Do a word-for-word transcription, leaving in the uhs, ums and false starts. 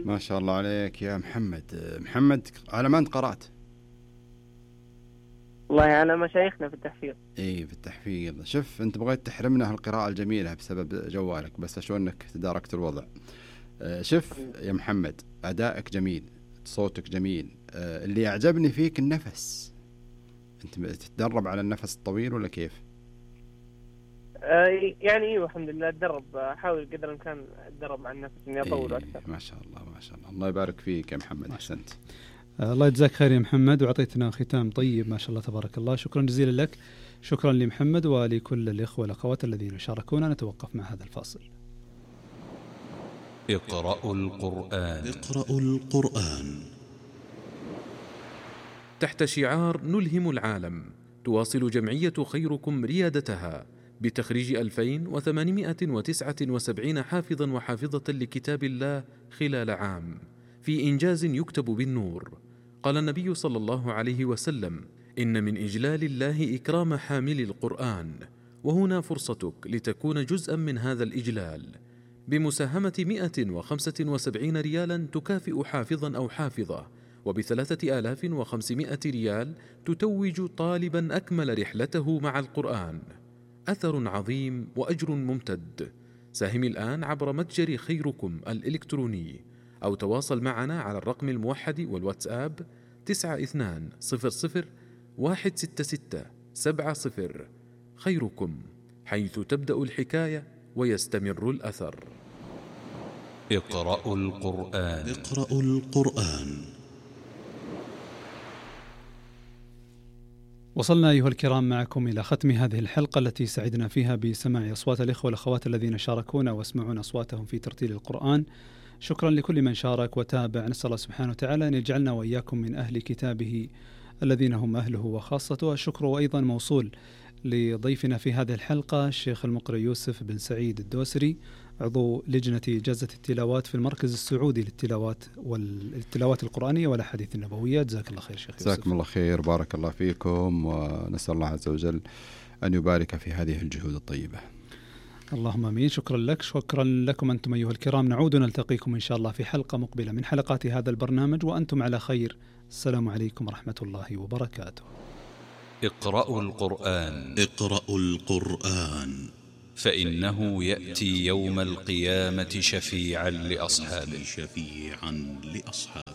ما شاء الله عليك يا محمد. محمد على ما أنت قرأت؟ والله على مشايخنا في التحفيظ. إيه في التحفيظ. شوف أنت بغيت تحرمنا هالقراءة الجميلة بسبب جوالك، بس أشوف أنك تداركت الوضع. شوف يا محمد، أدائك جميل، صوتك جميل، اللي أعجبني فيك النفس. أنت تتدرب على النفس الطويل ولا كيف؟ يعني ايوه الحمد لله اتدرب، احاول قدر الامكان اتدرب على النفس اني اطول اكثر. إيه ما شاء الله ما شاء الله. الله يبارك فيك يا محمد، احسنت. آه الله يجزاك خير يا محمد، وعطيتنا ختام طيب ما شاء الله تبارك الله. شكرا جزيلا لك، شكرا لمحمد ولكل الاخوه والاخوات الذين شاركونا. نتوقف مع هذا الفاصل. اقرأوا القرآن. اقرأوا القرآن. تحت شعار نلهم العالم، تواصل جمعية خيركم ريادتها بتخريج ألفين وثمانمائة وتسعة وسبعين حافظا وحافظة لكتاب الله خلال عام، في إنجاز يكتب بالنور. قال النبي صلى الله عليه وسلم: إن من إجلال الله إكرام حامل القرآن، وهنا فرصتك لتكون جزءا من هذا الإجلال بمساهمة مئة وخمسة وسبعين ريالا تكافئ حافظا أو حافظة، وبثلاثة آلاف وخمسمائة ريال تتوج طالبا أكمل رحلته مع القرآن. أثر عظيم وأجر ممتد. ساهم الآن عبر متجر خيركم الإلكتروني، أو تواصل معنا على الرقم الموحد والواتساب تسعة اثنان صفر صفر واحد ستة ستة سبعة صفر. خيركم، حيث تبدأ الحكاية ويستمر الأثر. اقرأوا القرآن. اقرأوا القرآن. وصلنا أيها الكرام معكم إلى ختم هذه الحلقة التي سعدنا فيها بسماع أصوات الإخوة والأخوات الذين شاركونا واسمعون أصواتهم في ترتيل القرآن. شكرا لكل من شارك وتابع. نسأل الله سبحانه وتعالى أن يجعلنا وإياكم من أهل كتابه الذين هم أهله وخاصته. الشكر أيضا موصول لضيفنا في هذه الحلقة الشيخ المقرئ يوسف بن سعيد الدوسري، عضو لجنة جزة التلاوات في المركز السعودي للتلاوات والتلاوات القرآنية والأحاديث النبوية. جزاك الله خير شيخ يوسف. جزاكم الله خير، بارك الله فيكم، ونسأل الله عز وجل أن يبارك في هذه الجهود الطيبة. اللهم آمين. شكرا لك، شكرا لكم أنتم أيها الكرام. نعود نلتقيكم إن شاء الله في حلقة مقبلة من حلقات هذا البرنامج وأنتم على خير. السلام عليكم ورحمة الله وبركاته. اقرأوا القرآن. اقرأوا القرآن، فإنه يأتي يوم القيامة شفيعا لأصحابه. شفيعا لأصحابه.